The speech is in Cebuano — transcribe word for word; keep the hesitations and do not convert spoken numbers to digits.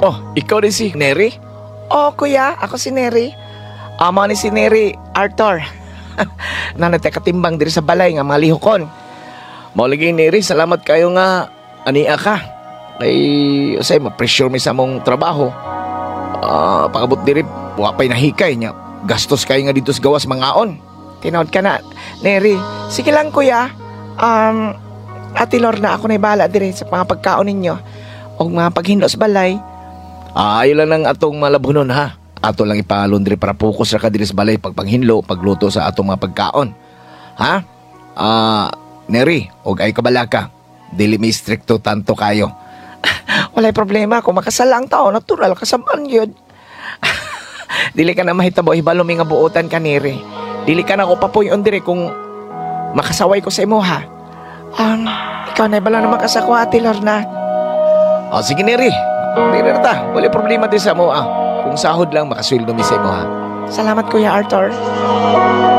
Oh, ikaw din si Neri? Oh, kuya, ako si Neri. Amo ni si Neri Arthur. Nanatay katimbang diri sa balay nga mga lihokon. Mao lagi Neri, salamat kayo nga ania ka. Kay usay ma-pressure mi sa among trabaho. Ah, pakabot diri wa pay nahikay nya. Gastos kayo nga dito sa gawas mangaon. Tinawad ka na, Neri. Sige lang, kuya. Um, Ate Lorna, ako na bahala diri sa mga pagkaon ninyo. O mga paghinlo sa balay. Ah, ayo lang ang atong malabhunon ha. Ato lang ipalundri para focus ra ka diri sa balay pagpanghinlo, pagluto sa atong mga pagkaon. Ha? Ah, Neri, og ay kabalaka. Dili mi strikto tanto kayo. Walay problema. Kung makasala ang tao, natural, kasamaan yun. Dili ka na mahitabo, hibalo mi nga buotan ka, Neri. Dili ka na ko papuyon diri kung makasaway ko sa imo, ha? Um, ikaw na ibalo naman ka sa ko, Ate Lorna. O sige Neri, Neri na ta. Walay problema din sa mo ah. Kung sahod lang makasweldo mi sa imo ha. Salamat, Kuya Arthur.